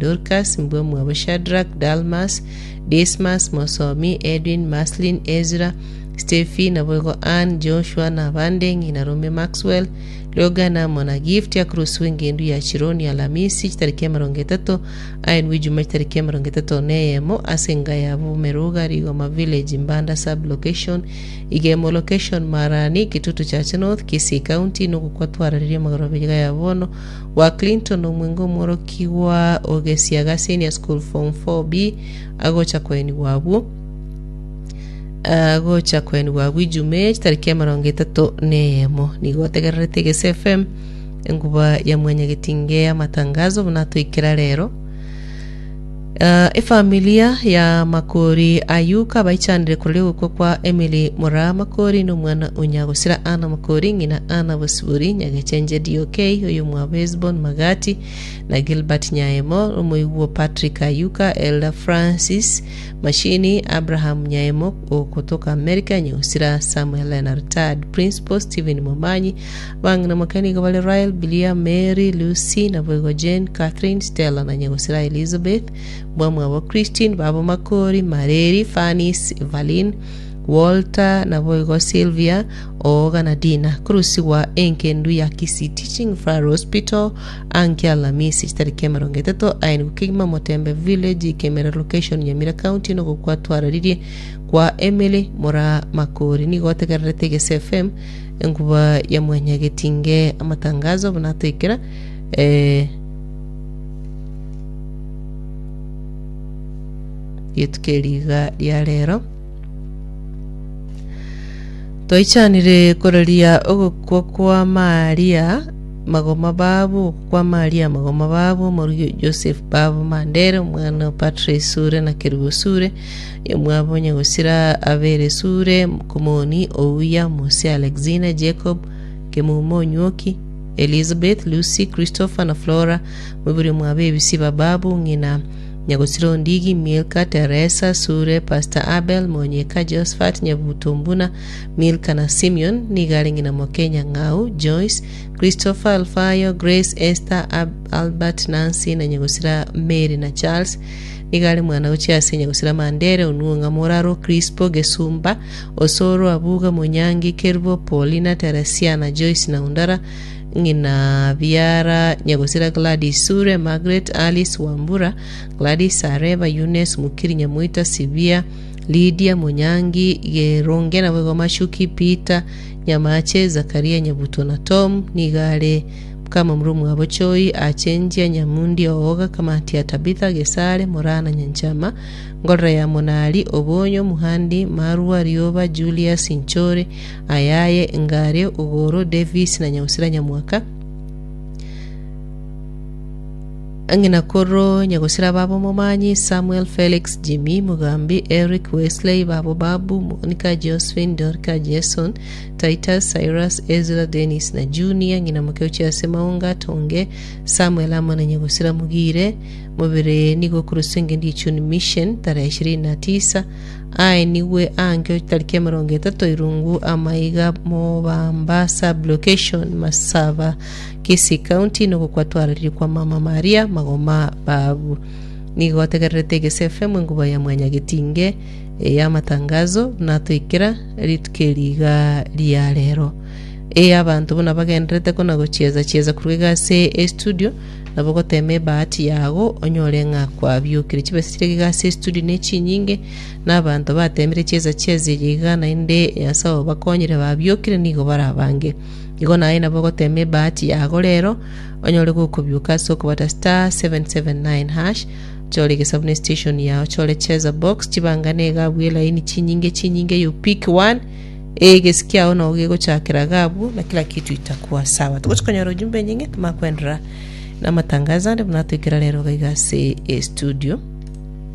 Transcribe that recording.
Dorcas, mbwamwabo Shadrack, Dalmas, Dismas, Mosomi, Edwin, Maslin, Ezra, Stephy, naboigo Ann, Joshua, na abande, ng'ina Rome Maxwell, Logan amo na Gift, akorosiwa engendu ya Chironi Alamisi, chitariki 30, aenwe Ijuma chitariki 31 ase enga ya Bomeruga, Rigoma Village, Mbanda Sub-location, Igemo Location, Marani, Kitutu Chache North, Kisii County, nogokwa twarareria amagoroba iga ya bono gwa Clinton Omwenga omworokigwa o Gesiaga Senior School Form 4B agocha koenigwa abwo agocha koenigwa abwo Ijumaa chitariki 31. Nigo otegererete Egese FM enkuba ya mwanyagetinge y'amatangazo buna toikera rero. Ah, efamilia ya Makori Ayuka baichanire koruria ogokwa kwa Emily Moraa Makori na omwana o Nyagosira Anna Makori, ng'ina Anna Bosibori, Nyagechenje DOK, oyomwabo Hesbon Magati na Gilbert Nyaemo, omoigwa Patrick Ayuka, Elder Francis Mashini, Abraham Nyaemo okotoka America, Nyagosira Samuel na retired Principal Stephen Momanyi, Abang'ina moke nigo bare Rael, Bilia, Mary, Lucy, naboigo Jane, Catherine, Stella, na nyagosira Elizabeth, mbwamwabo Christine, babo Makori, Mareri, Fanis, Evaline, Walter, naboigo Sylvia, Ooga na Dina. Korusigwa enkendu ya Kisii Teaching Referral Hospital anke Alamisi chitariki 30 aenigwe kegima Motembe Village, Kemera Location, Nyamira County nogokwa twararirie kwa Emily Moraa Makori. Nigo otegererete Egese FM Enkuba ya mwanyagetinge amatangazo buna atoikera eh, rituko eri iga ria rero toichanire koraria ogokwa kwa Maria magoma babu ogokwa kwa Maria magoma babu omorugi o Joseph babu Mandere omwana o Patrice Sure na Kerubo Sure Omwabo nyagosira abere Sure, Komoni, Ouya, Mose, Alexina, Jacob, Kemumo, Onywoki, Elizabeth, Lucy, Christopher na Flora, moibori omwabo ebisiba Babu, ng'ina nyagosira Ondigi, Milka, Teresa, Sure, Pastor Abel, Monyeka, Josephat, Nyabuto, Mbuna, Milka na Simeon, nigo are ng'ina moke Nyang'au, Joyce, Christopher, Alfayo, Grace, Esther, Ab, Albert, Nancy na nyagosira Mary na Charles, Nigo are mwana gochia ase nyagusira Mandere, Onuong'a, Moraro, Crispo, Gesumba, Osoro, Abuga, Monyangi, Kerubo, Paulina, Teresia, na Joyce na Undara, ng'ina biara nyagusira Gladys Sure, Margaret, Alice, Wambura, Gladys, Areba, Eunice, Mukiri, Nyamoita, Sibia, Lydia, Monyangi, Geronge, naboigo Mashuki, Peter, Nyamache, Zakaria, Nyabuto na Tom, nigo are Kamamura omwabo Choi, Achenjia, Nyamundi, Ooga, Kamatia, Tabitha, Gesare, Morana, Nyanchama, Ngorora ya Monari, Obonyo, Muhandi, Marwa, Rioba, Julius, Nchore, Ayaye, Ngare, Ogoro, Davis na Nyagusira Nyamwaka. Ng'ina koro Nyagusira babo Momanyi, Samuel, Felix, Jimmy, Mugambi, Eric, Wesley, babo Babu, Monica, Josephine, Dorca, Jason, Titus, Cyrus, Ezra, Dennis, na Junior, ng'ina moke ochia ase Maunga, Tonge, Samuel amo na nyagosira Mugire, mobere nigo okoroswa engencho ye Chuni Mission, tarehe 29, aenigwe anke chitariki 30 Irungu amaiga Mobamba Sub-location, Masaba, Kisii County, nogokwa twararirie kwa Mama Maria Magoma Babu. Nigo ategererete Egese FM enguba ya Mwanyagetinge ey'amatangazo buna atoikera rituko eri iga ria rero. Ee abanto buna bagendererete kona gochieza chieza korwa iga ase estudio, nabo gotema ebahati yago onyore ng'a kwabiokire. Chibesa chire iga ase estudio ne chinyinge, na abanto batemire chieza chieza eye iga naende Nyasae obakonyire babiokire nigo bare abange. Igo naye nabo ogotema ebahati yago rero, onyore gokobioka ase okobata *779# Chore egesabu ne station yao chore cheza box chibangane iga abwo elaini chinyinge chinyinge you pick one egesi kiao nao gegochakera iga abwo na kila kitu itakuwa sawa togochi konyora ujumbe enyinge tomakwenderera na amatangazo ande buna toikera rero iga iga ase estudio.